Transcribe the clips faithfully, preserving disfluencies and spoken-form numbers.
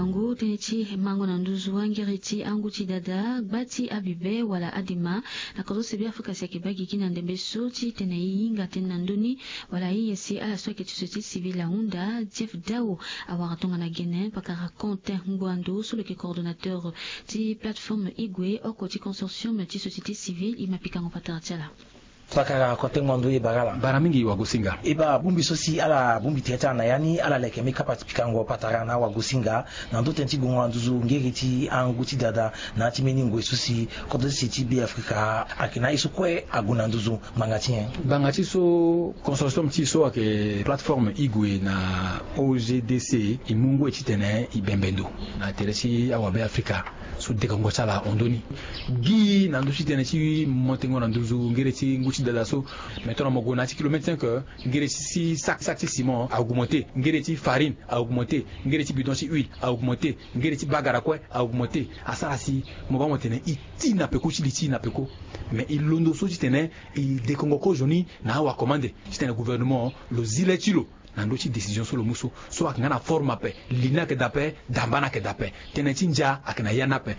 Ngu tënë ti mango na nduzu angiri ti angu ti dada gba ti abibe wala adema na kodro so Be Afrika si ayeke baa gigi na ndembe so ti tene e hinga tënë na ndö ni wala aye si ala so ayeke ti société civile ahunda. Jeff Dao awara tongana gene pakara Quentin Ngbando so lo yeke coordonnateur ti plateforme Igwe oko ti consortium ti société civile. E ma pikango patara ti ala. Pakara Quentin Ngbando, e bara ala. Bara mingi wagosinga. E bara bongbi so si ala bongbi tere ti ala na ya ni, ala leke mbeni kapa ti pikango patara na wagosinga na ndö tënë ti gongo na nduzu ngeri ti angu ti dada na ya ti mbeni ngoi so si kodro ti se ti Be Afrika ayeke na ye so kue ague na nduzu ngbanga ti nyen? Ngbanga ti so consortium ti so ayeke plateforme Igwe na O G D C e mu ngoi titene e bembe ndo na tere ti awabe Afrika so dekongo ti ala hon ndö ni. Gi na ndö ti tënë ti montengo na nduzu ngere ti ngu ti dada so. Mais tongana mo gue na ya ti kilomètre cinq, ngere ti sac, sac ti ciment a augmenté, ngere ti farine a augmenté, ngere ti bidon ti huile a augmenté, ngere ti bagara kue a augmenté. Asara si mo baa mo tene e ti na peko ti li ti e na peko. Mais e londo so titene e dekongo kozoni na awakomande titene gouvernement lo zi le ti lo na ndö ti décision so lo mu so. So ayeke nga na forme ape, li ni ayeke daa ape, damba ni ayeke daa ape, tënë ti ndia ayeke na ya ni ape,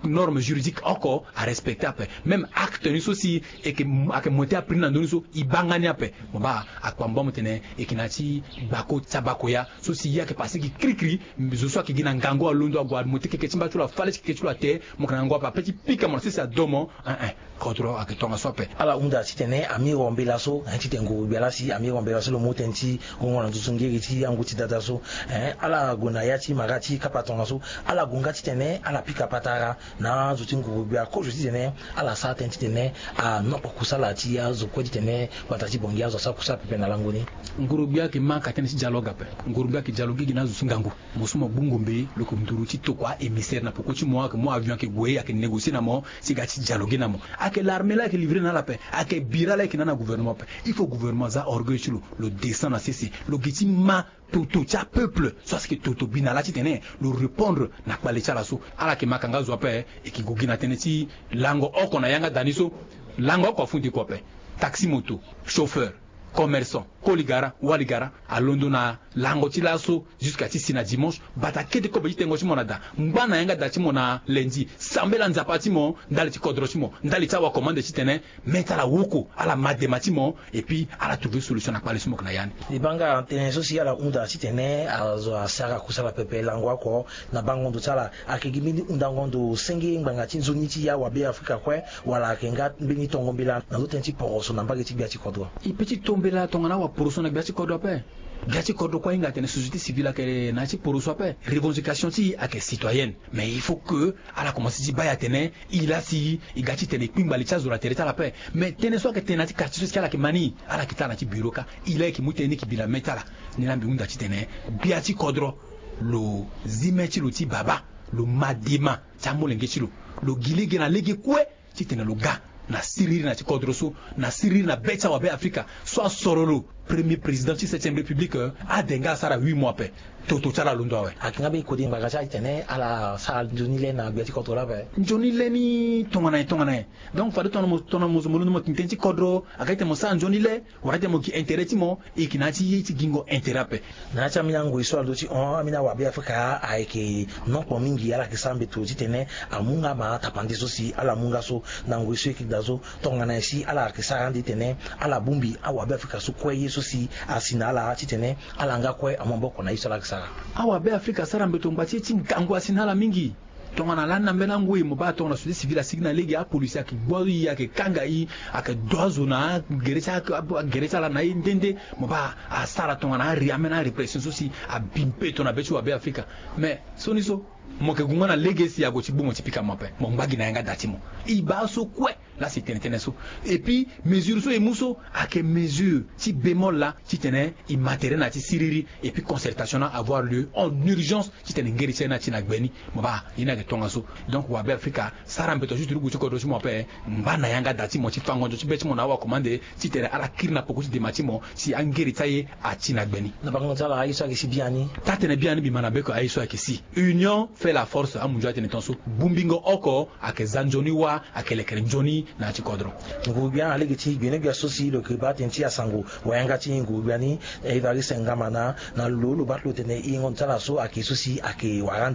norme juridique oko arespecté ape. Même acte ni so si e yeke, ayeke monté apri ni na ndö ni so e baa nga ni ape. Mo baa akpambo amu tene e yeke na ya ti gbako ti abakoya so si ye ayeke pase gi kirikiri. Zo so ayeke gi na ngangu alondo ague amonté keke ti mba ti lo, afâ le ti keke ti lo ate. Mo yeke na ngangu ape ape ti pika mo na sese ado mo. Ein ein. Kodro ayeke tongaso ape. Ala hunda titene amiro mbela so, hein, titene nguru-gbia laa si amiro mbela so lo mu tënë ti gongo na nduzu ngeri ti angu ti dada so, hein, ala gue na ya ti mara ti kapa tongaso. Ala gue nga titene ala pika patara na azo ti nguru-gbia kozo titene ala sara tënë titene anokpo kusala ti azo kue titene gbata ti Bangui azo asara kusala pepe na lango ni. Nguru-gbia ayeke ma ka tënë ti dialogue ape. Nguru-gbia ayeke dialogue gi na azo ti ngangu. Mo so mo gbu ngombe lo yeke nduru ti tokua émissaire na peko ti mo, ayeke mu avion ayeke gue ayeke négocier na mo si e ga ti dialoguer na mo. Ayeke l'armée la ayeke livrer na ala ape. Ayeke bira la ayeke na na gouvernement ape. Il faut gouvernement aza orgueil ti lo, lo descend na sese, lo gi ti ma toto ti apeuple so asi yeke toto bi na ala titene lo répondre na kpale ti ala so. Ala yeke ma ka nga zo ape. E yeke gue gi na tënë ti lango oko na yanga da ni so. Lango oko afundi kua ape. Taxi moto, chauffeur, commerçant, koli gara, wali gara, alondo na lango ti laso jusqu'à ti si na dimanche. Bata kete kobe ti tengo ti mo na da, ngba na yanga da ti mo na lundi, sambela Nzapa ti mo ndali ti kodro ti mo, ndali ti awakomande titene me ti ala woko, ala ma dema ti mo, et puis ala trouver solution na kpale so mo yeke na ya ni. E baa nga tënë so si ala hunda titene azo asara kusala pepe lango oko na bango ndo ti ala. Ayeke gi mbeni hundango ndo senge ngbanga ti nzoni ti awabe Afrika kue, wala ayeke nga mbeni tongo mbela na ndö tënë ti poroso na mbage ti gbia ti kodro? E peut ti to mbela tongana awaporoso na gbia ti kodro ape. Gbia ti kodro kue ahinga atene société civile ayeke na ya ti poroso ape. Revendication ti e ayeke citoyenne. Mais il faut que ala komanse ti baa e atene e laa si e ga titene e kpingba li ti azo na tere ti ala ape. Mais tënë so ayeke tene na ya ti quartier so si ala yeke ma ni, ala yeke ti ala na ya ti bureau kâ. E laa e yeke mu tënë ni e yeke bi na me ti ala. Ni laa mbi hunda titene gbia ti kodro lo zi me ti lo ti baba, lo ma dema ti amolenge ti lo, lo gi lege na lege kue titene lo ga na siriri na ya ti kodro so, na siriri na be ti awabe Afrika so asoro lo premier président ti septième république. Ade nga asara huit mois ape. Toto ti ala alondo awe. Ayeke nga mbeni kode ngbanga ti ala titene ala sara nzoni le na gbia ti kodro laa ape. Nzoni le ni tongana nyen tongana nyen? Donc fade tongana mo, tongana mo zo mo londo mo tene tënë ti kodro, ayeke titene mo sara nzoni le, wala titene mo gi intérêt ti mo, e yeke na ya ti ye ti gingo intérêt ape. Na ya ti ambeni angoi so alondo ti hon, ambeni awabe Afrika ayeke nokpo mingi, ala yeke sara mbeto titene amu nga ma tapande so si ala mu nga so na ngoi so e yeke daa so. Tongana nyen si ala yeke sara ande titene ala bongbi awabe Afrika so kue ye so si asi na ala titene ala nga kue amu maboko na ye so ala yeke sara? Awabe Afrika asara mbeto ngba ti ye ti ngangu asi na ala mingi. Tongana lani na mbeni angoi mo baa tongana société civile asigi na lege, apolisi ayeke gbu e, ayeke kanga e, ayeke do azo na agere ti a-, agere ti ala na e nde nde. Mo baa asara tongana ari ame na arépression so si abi mbeto na be ti wabe Afrika. Mais sioni so mo yeke gue nga na lege si ague ti gbu mo ti pika mo ape, mo ngba gi na yanga da ti mo. E baa so kue. Laa si e tene tënë so. Et puis mesure so e mu so ayeke mesure ti bémol laa titene e ma tere na ya ti siriri. Et puis concertation ni avoir lieu en urgence titene ngeri ti aye ni ati na gbe ni. Mo baa ye ni ayeke tongaso. Donc wabe Afrika, sara mbeto juste ti gue ti kodro ti mo ape, ngba na yanga da ti mo ti fango nzo ti be ti mo na awakomande titene ala kiri na poko ti dema ti mo si angeri ti aye ati na gbe ni. Na bango ti ala aye so ayeke si biani. Taa-tene biani mbi ma na beko aye so ayeke si. Union fait la force, amunzu atene tongaso. Bongbingo oko ayeke za nzoni wâ, ayeke lekere nzoni na ya ti kodro. Nguru-gbia na lege ti gbenegbia so si lo yeke baa tënë ti asango wayanga ti nguru-gbia ni, Évariste Ngamana, na lo lo baa ti lo tene yengo ndo ti ala so ayeke so si ayeke wara